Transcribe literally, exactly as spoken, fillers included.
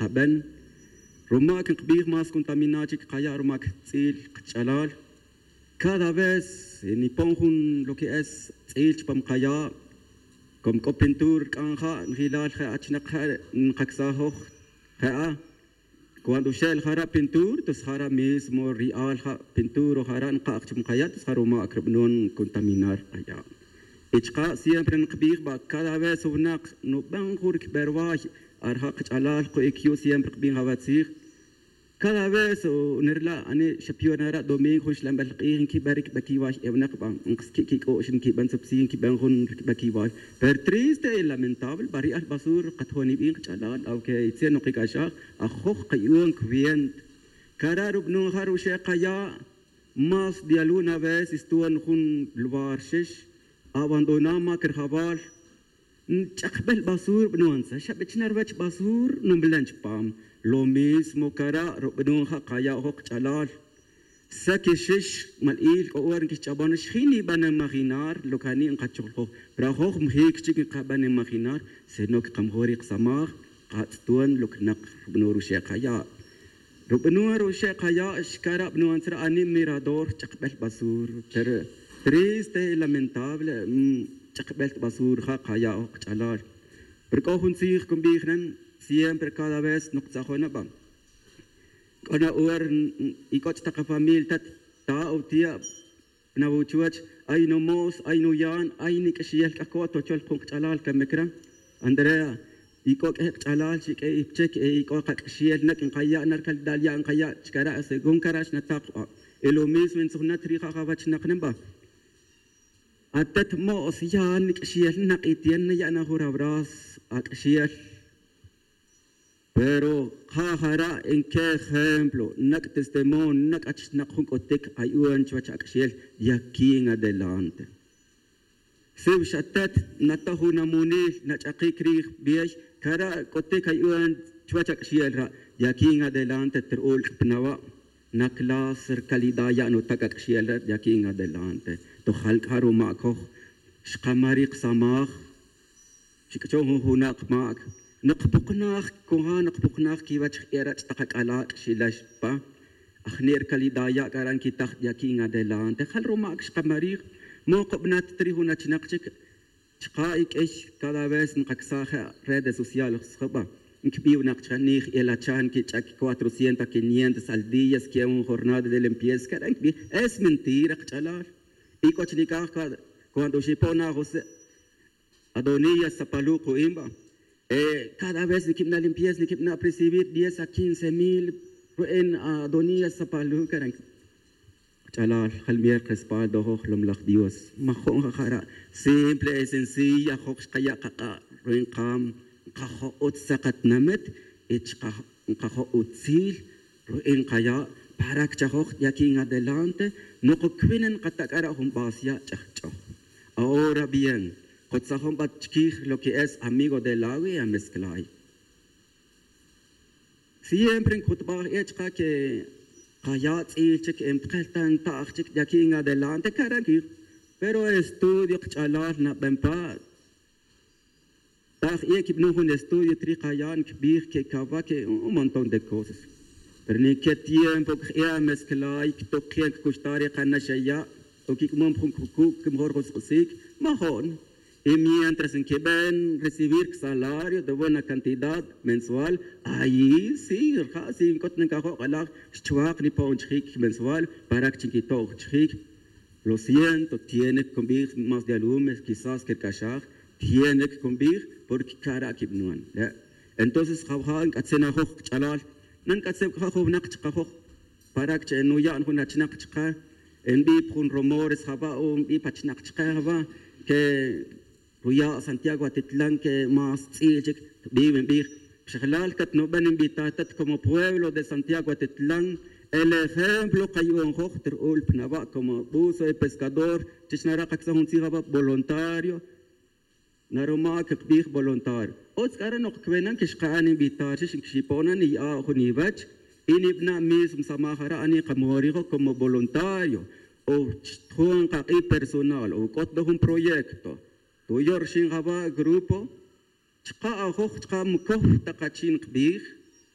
qaben. Ruma' que nkbij más contaminado chic kaya' ruma' que tz'il kach'alal. Cada vez nipon jun lo que es tz'il chupam kaya'. Como c'o pintura rc'an ja' njilal je' achinak je' nkacsajoj je'a. Cuando xe'l jara' pintura tos jara' mismo ri'al ja' pintura o jara' nka'j chupam kaya' tos ja' ruma' crubnon contaminar kaya'. Y chka' siempre nkbij ba cada vez winak nuben jun ricberway. Ar ja' kach'alal ku'ic yu' siempre kbij jawa' tzij. Cada vez nirla' ani xapyon ara' domingo jun xlanbel k'ij nquiben ricbequiway e winak ba nkasqui' quic'u'x nquiben tzupsi nquiben jun ricbequiway. Pero triste y lamentable ba ri'al basura katojon ibi' nkach'alal aunque itzel nokic'axaj ajoj kayu'un cuenta. Cara' rubanon ja' ruxe' kaya' más de alguna vez istuon jun lugar xix abandonar mac rijabal. Ch'akbel basura b'nuntza xa b'echna' ruwech basura numlan chupam. Lo mismo cara' rub'nun ja' kaya' ojoq kach'alal. Sa kixix mal'il k'o hora nkixch'abon xjin nib'an imaginar lo que ani' nqachojlajoj. Pero ajoj mjic chik nqab'an imaginar sino que qamajor ri qasamaj. Qatz'ton lo que naq rub'nun ruxe' kaya'. Rub'nun ruxe' kaya' xkara' b'nun tzra' ani' mirador ch'akb'el basura. Pero triste y lamentable ch'akb'el basura ja' kaya' ojoq kach'alal. Pero k'o jun tzij kunb'ij nen siempre cada vez noqtzajon na b'a. K'o na hora y k'o ch'taq afamilia tat ta o tia' nawuchuwech ay numo's ay nuyan ay nik'axiyel k'a coto chol jun kach'alal kamic ra. Andrea, y k'o k'e kach'alal xik'e ipchek y k'o kak'axiyel nak' nkaya' na rcalidad ya' nkaya' chkara' según kara' xnatak. Y lo mismo ntzujnat ri ja' jawech nak nen b'a. Atet mo's ya' nik'axiyel nak' y tiene naya' na jun rabrazo ak'axiyel. Pero ja' jara' nque ejemplo nak' testimonio nak' achnak jun c'utic ayu'un chuwech ak'axel de aquí en adelante. Siw xatet nata jun amonil nach'akic rij bey cara' c'utic ayu'un chuwech ak'axel ra'. De aquí en adelante tru'ul k'a pa nawa' na clase ri calidad ya' nutac ak'axel ra' de aquí en adelante. Tojal c'a ruma' coj xkamar ri kasamaj. Xic'achon jun junak mac. Nokpoknaj con ja' nokpoknaj quiwech j'era' ch'tak ac'ala' c'axilax pa ajni' ri calidad ya' c'a ra' nquitaj de aquí en adelante jal rumac xkamarij. Mokobnat ta ri jun achinak chic chka' y q'uiy cada vez nkacsaj je' redes sociales jaba' nquibi' winak chka' nij el achan quich'ac cuatrocientos quinientos al día sque'on jornada de limpieza c'a ra' nquibi'. Es mentira kach'alal. Y c'o chi nic'aj cuando xipon na josé adonías sapalu' ku'in ba. Cada vez niquibna' limpieza niquibna' percibir diez a quince mil ru'in adonías sapalu' cara' nquibi'. Ch'alal jalmier respaldo joj lomlaj dios majo'n jajara'. Simple y sencilla joj xkaya' kak'a' ru'in kam nkajo' utz sa katinamit y nkajo' utzil ru'in nkaya' para que chajoj de aquí en adelante. Nokocwin nkata' c'a ra' jun base ya' ch'ajch'oj. Ahora bien kotzajon bat chiquij lo que es amigo de lawi y amezclay. Siempre ncutbaj e' chka' que kaya' tz'il chic npkel ta nta'j chic de aquí en adelante cara' nquij. Pero estudio kach'alal naben pa taj e' quib'nun jun estudio trij kaya' nquibij que cava que un montón de cosas. Pero nique tiempo cj'e' amezclay ctok je' ncacuxta' re kanaxaya' o quic'mom jun cucu' que mejor jun sk'usic majo'n. Y mientras nquiben recibir salario de buena cantidad mensual ayi sí rija' si nc'ut na ncajo' k'alaj xchuak nipo'on chijic mensual para que chi nquito'on chijic. Lo siento tiene que cunbij más de alumes quizás quirc'axaj tiene que cunbij porque cara' quibnun le'. Entonces jawaja' nc'atzin ajoj kach'alal na nc'atzin c'a ja' jun winak chkajoj para que che nuya' jun achinak chka. Nbi' pa jun rumores jaba' o nbi' pa achinak chka jaba' que ruya' santiago atitlan que más tz'il chic. Bi' winbij pixjalal catnuben nbitatat como pueblo de santiago atitlan el ejemplo kayu'unjoj ta ru'ul pa nawa' como buzo y pescador. Chich nara' kacsaj jun tzij jaba' voluntario naruma' que kbij voluntario. Utz c'a re' nokcwenan que xka'an invitar xix nquixipon na niya'a' jun iwech y nibana' mismo samaj ara' ani' kamorijo como voluntario o chjun kak'i personal o c'ot na jun proyecto. Tuyo' rixin jaba' grupo chka' ajoj chka' micoj ta kachin kbij.